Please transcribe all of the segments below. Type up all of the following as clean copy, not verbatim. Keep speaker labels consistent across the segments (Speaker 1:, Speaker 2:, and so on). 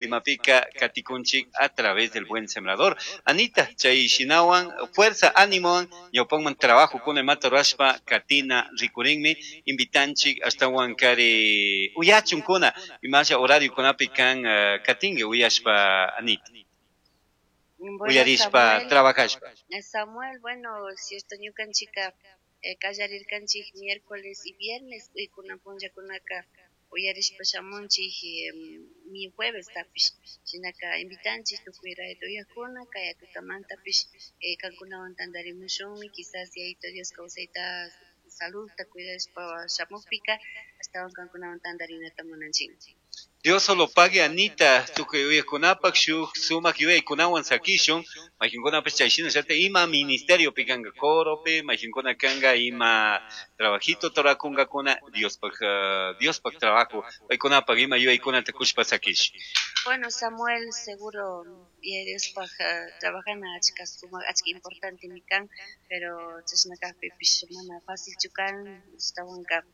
Speaker 1: Imapika katikunchik a través del Buen Sembrador. Anita, chay shinawan, fuerza, ánimo, ñawpakman trabajo kuna imata rurashpa katina rikurinmi, invitanchik ashtawan kari uyachunkuna, imasha horario kunapi kan katinki uyashpa, Anita.
Speaker 2: Bueno,
Speaker 1: Uyarishpa,
Speaker 2: Samuel,
Speaker 1: trabajashpa.
Speaker 2: Samuel, bueno, cierto, ñukanchika kallarirkanchik miércoles y viernes, y kunan punllakunaka uyarishpa shamunchik mi jueves tapish, shinaka invitanchik tukuy radio uyakuna, kaya tutamantapish kankunawan tantarimushunmi, quizás Yayito Dios kawsayta saludta cuidashpa shamukpika ashtawan kankunawan tantarinata munanchik.
Speaker 1: Dios solo pague, Anita, tukuy uyakunapak shuk sumak yuyaykunawan sakishun, mayqinkunapish chay shinallata ima ministeriopi kanka coropi, mayqinkuna kanka ima trabajito turakunkakuna, Diospak trabajo, paykunapak ima yuyaykunata kushpa sakish.
Speaker 2: Bueno, Samuel, seguro Diospaj trabajana achka sumak, achka importante mi kan, pero chashna kajpipish mana fácilchu kan, ashtawanka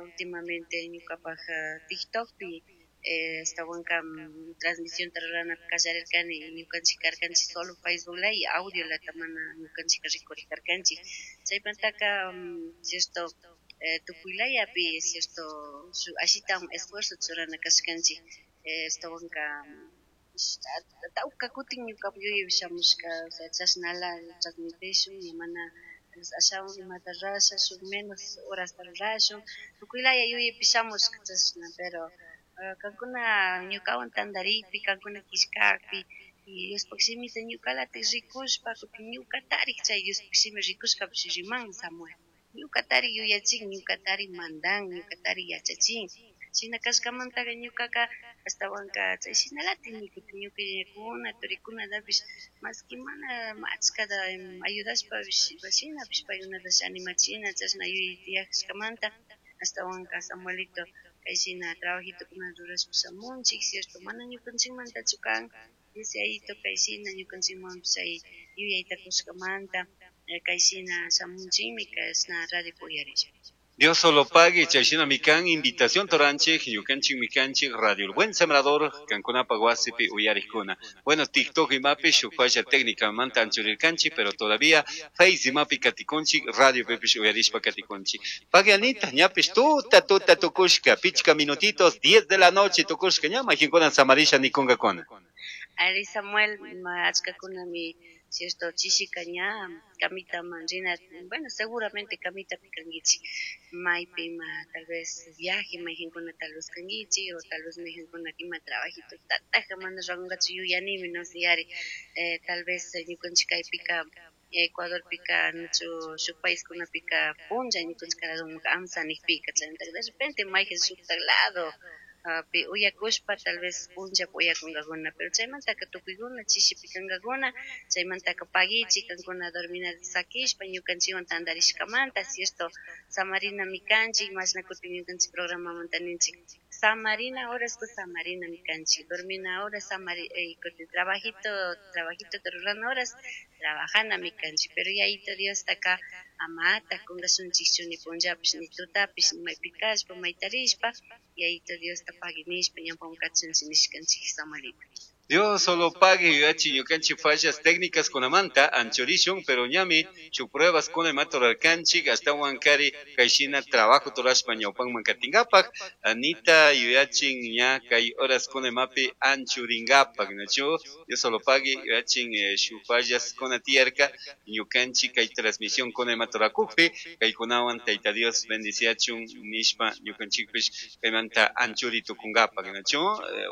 Speaker 2: últimamente ñukapaj TikTokpi ashtawanka transmisión rurana kallarirkani, ñukanchik karkanchik solo Facebook la y audio lata mana ñukanchik rikurikarkanchik. Chaymantaka, cierto, tukuylayapi, cierto, ashita un esfuerzo churana kashkanchik. Ashtawanka, tawka kutin ñuka yuyaypi shamushka, o sea, chashnala transmitishun, ña mana ashawan imata rurasha, shuk menos horasta rurashun, tukuylaya yuyaypi shamushka chashna, pero kankuna ñukawan tantarikpi, kankuna killkakpi, y Diospaj shimita ñukalatik rikushpa, kutin ñukatarik chay Diospaj shimi rikushkapish riman, Samuel. Ñukatarik yuyachin, ñukatarik mandan, ñukatarik yachachin. Shina kashkamantaka ñukaka ashtawanka chay shinalatikmi kutin ñuka yayakuna, turikunatapish, maski mana achkata ayudashpapish, shinapish paykunatash animachina, chashna yuyay tiyashkamanta ashtawanka Samuelito kay shina trabajitokuna rurashpa shamunchik, cierto, mana ñukanchikmantachu kan, Dios Yayito kay shina ñukanchikmanpish chay yuyayta kushkamanta, kay shina shamunchikmi, kashna radio uyarishpa.
Speaker 1: Dios solo pague, chay shina mikan invitación toranchik, ñukanchik mikanchik, Radio El Buen Sembrador, kankunapa wasipi uyarikuna. Bueno, TikTok imapi shuk falla técnica manta anchurirkanchik, pero todavía Face imapi katikunchik, radio pipish uyarishpa katikunchik. Pague Anita, ñapish tuta tuta tukushka, pichka minutitos, 10 de la noche tukushka, ña majinkuna samarisha nikunkakuna.
Speaker 2: Ari Samuel, achkakunami, cierto, chishika ña kamita manrina, bueno, seguramente kamita pikangichi, maypi ma tal vez viaje, mayjinkuna tal vez kangichi, o tal vez mayjinkuna ima trabajito tataja mana rangachu yuyanimi, no sé, yari, tal vez ñukanchik kaypika, Ecuadorpika, nachu shuk paiskunapika punlla ñukanchik karadunka amsa nikpika, chaymanta de repente mayjin shuktak lado, pi uyakushpa tal vez punlla uyakunkakuna, pero chaymantaka tukuykuna chishipi kankakuna, chaymantaka paguichi kankuna dormina sakishpa ñukanchikwan tantarishkamanta, cierto, samarina mikanchik, mashna kutin ñukanchik programamanta ninchik, samarina horas pues samarina mikanchik, dormina horas, kutin trabajito, trabajito rurana horas, trabajana mikanchik, pero Yayito Diostaka amata kunkashunchikchu ni punllapish ni tutapish ni maypi kashpa maytarishpa, Yayito Diosta paguinishpa ñawpaman kachunchik nishkanchik Samuelito.
Speaker 1: Dios solo pague yuyachi ñukanchik fallas técnicas kunamanta anchurishun, pero ñami shuk pruebas kuna imata rurarkanchik, ashtawan kari kayshina trabajo turashpa ñawpanman katinkapak, Anita yuyachin ña kay horas kuna imapi anchurinkapak, nachu? Dios solo pague yuyachin shuk fallas kuna tiyarka ñukanchik kay transmisión kuna imata rurakukpi, kaykunawan Tayta Dios bendiciachun nishpa ñukanchikpish kaymanta anchuri tukunkapak, nachu?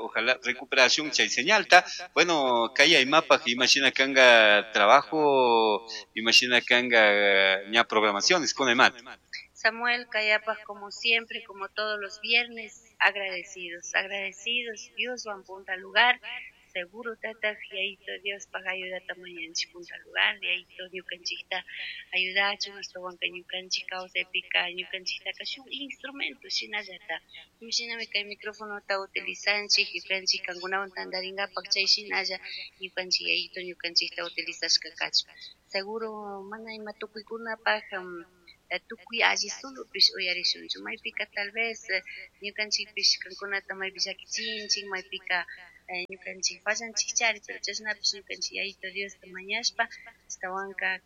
Speaker 1: Ojalá recuperación chay señal. Bueno, kaya imapaj, imagina kanga trabajo, imagina kanga ña programaciones con emat.
Speaker 2: Samuel Kayapaj, como siempre, como todos los viernes, agradecidos, agradecidos, Dios va a punta lugar, seguro tata, y ahí todo Dios paga ayuda tamaño punta lugar, y ahí todo ñukanchikta ayudachu, nuestro banca ñukanchik causa épica, ñukanchikta kashu instrumento, shinallata, shinami kay micrófono ta utilizanchik, ñukanchik kankunawan tantarinkapak chay shinalla, ñukanchik ahí todo ñukanchikta utilizashka kachu. Seguro mana ima tukuykunapaj, tukuy alli sulupish uyarishunchu, maypika tal vez ñukanchikpish kankunata maypi llakichinchik, maypika Ñukanchik fallanchikchari, pero chashnapish ñukanchik Yayito Diosta mañashpa ashtawanka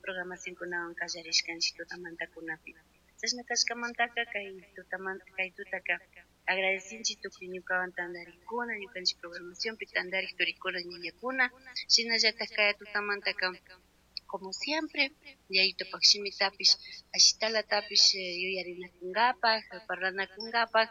Speaker 2: programacionkunawan kallarishkanchik tutamantakunapi. Chashna kashkamantaka kay tutamanta kay tutaka agradecinchik tukuy ñukawan tantarikuna, ñukanchik programacionpi tantarik turikuna ñañakuna, shinallatak kay tutamantaka como siempre Yayitopak shimitapish ashtalatapish yuyarinakunkapak, parlanakunkapak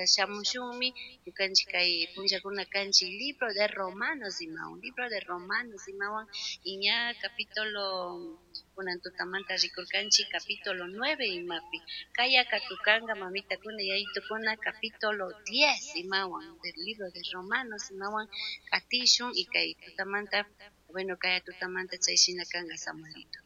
Speaker 2: shamushunmi ñukanchik kay punllakuna kanchik libro de Romanos imawan, libro de Romanos imawan y ña capítulo kunan tutamanta rikurkanchik capítulo 9 imapi, kayaka tukanka mamitakuna yayitukuna capítulo 10 imawan del libro de Romanos imawan katishun y kay tutamanta, bueno, kaya tutamanta chay shina kanka Samuelito.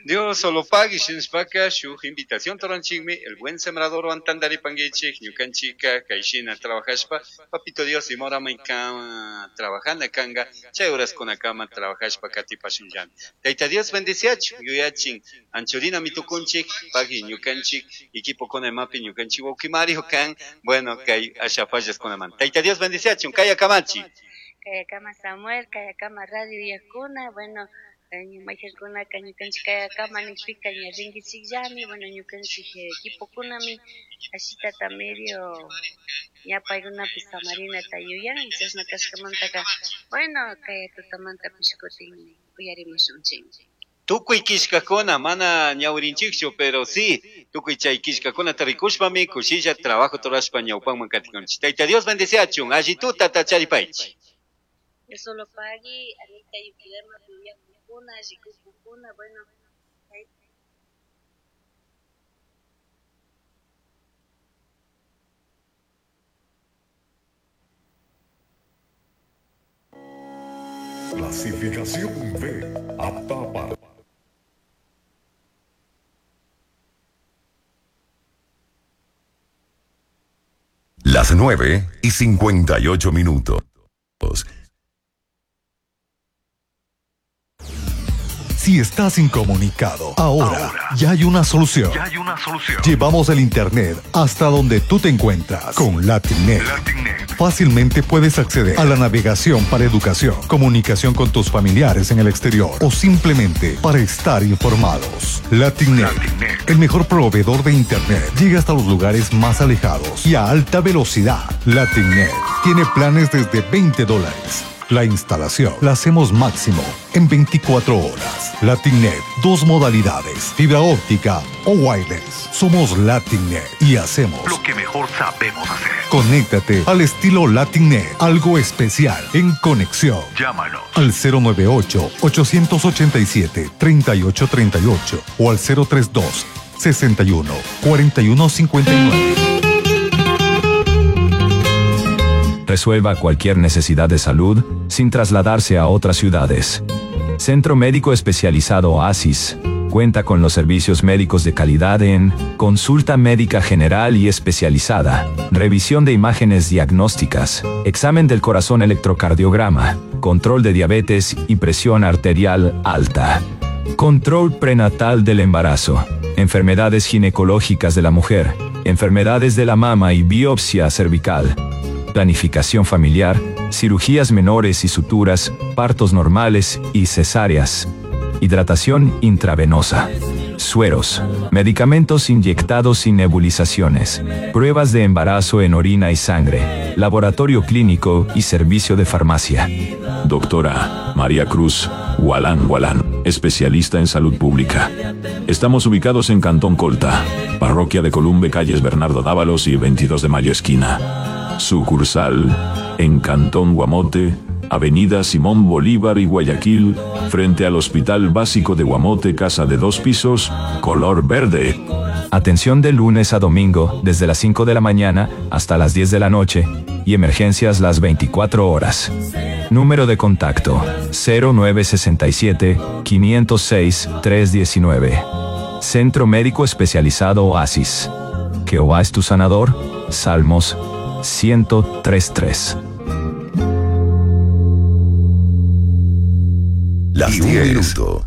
Speaker 1: Dios solo pague shinashpaka shuk invitación toranchikmi el buen sembrador antandaripanguichik ñukanchika kayshina trabajashpa papito Dios imorama kama trabajana kanga chay horaskunakama trabajashpa katipashunllami. Tayta Dios bendiciachu yuyachin anchurina mitukunchik pagui ñukanchik equipo kuna imapi ñukanchik wawqi Mario kan, bueno, kay asha fallaskunaman. Tayta Dios bendiciachu kaya kamachi.
Speaker 2: Kaya kama Samuel, kaya kama radio yakuna, bueno, mayqankunaka ñukanchik kaya kama nikpika ña rinkichikllami, bueno, ñukanchik equipokunami ashitata medio ña paykunapish samarinata yuyan, chashna kashkamantaka, bueno, kaya tutamantapish kutin uyarimushunchik.
Speaker 1: Tukuy kishkakuna mana ñawrinchikchu, pero sí, tukuy chay kishkakunata rikushpami kushilla trabajo torashpa ñawpanman katikunchik. Tayta Dios bendeciachun, alli tutata charipaychik.
Speaker 2: Yo solo pagui, Anita Yukidama, Puyakukuna, Rikukukuna, bueno.
Speaker 3: Clasificación B, apta para
Speaker 4: las 9:58.
Speaker 5: Si estás incomunicado, ahora ya hay una solución.
Speaker 6: Ya hay una solución.
Speaker 5: Llevamos el internet hasta donde tú te encuentras con LatinNet.
Speaker 6: LatinNet.
Speaker 5: Fácilmente puedes acceder a la navegación para educación, comunicación con tus familiares en el exterior o simplemente para estar informados. LatinNet,
Speaker 6: LatinNet.
Speaker 5: el mejor proveedor de internet, llega hasta los lugares más alejados y a alta velocidad. LatinNet tiene planes desde veinte dólares. La instalación la hacemos máximo en 24 horas. LatinNet, dos modalidades, fibra óptica o wireless. Somos LatinNet y hacemos
Speaker 6: lo que mejor sabemos hacer.
Speaker 5: Conéctate al estilo LatinNet, algo especial en conexión.
Speaker 6: Llámanos
Speaker 5: al cero nueve ocho, ochocientos ochenta y siete, treinta y ocho treinta y ocho o al cero tres dos, sesenta y uno, cuarenta y uno cincuenta y nueve.
Speaker 7: Resuelva cualquier necesidad de salud sin trasladarse a otras ciudades. Centro Médico Especializado Oasis cuenta con los servicios médicos de calidad en consulta médica general y especializada, revisión de imágenes diagnósticas, examen del corazón electrocardiograma, control de diabetes y presión arterial alta, control prenatal del embarazo, enfermedades ginecológicas de la mujer, enfermedades de la mama y biopsia cervical, planificación familiar, cirugías menores y suturas, partos normales y cesáreas, hidratación intravenosa, sueros, medicamentos inyectados y nebulizaciones, pruebas de embarazo en orina y sangre, laboratorio clínico y servicio de farmacia.
Speaker 8: Doctora María Cruz Gualán Gualán, especialista en salud pública. Estamos ubicados en Cantón Colta, parroquia de Columbe, calles Bernardo Dávalos y 22 de Mayo esquina. Sucursal en Cantón Guamote, Avenida Simón Bolívar y Guayaquil, frente al Hospital Básico de Guamote, casa de 2 pisos, color verde.
Speaker 7: Atención de lunes a domingo, desde las 5 de la mañana hasta las 10 de la noche, y emergencias las 24 horas. Número de contacto, cero nueve sesenta y siete, 506, 319. Centro Médico Especializado Oasis. Jehová es tu sanador. Salmos 103.3.
Speaker 4: Las
Speaker 3: Y un
Speaker 4: 10
Speaker 3: minuto.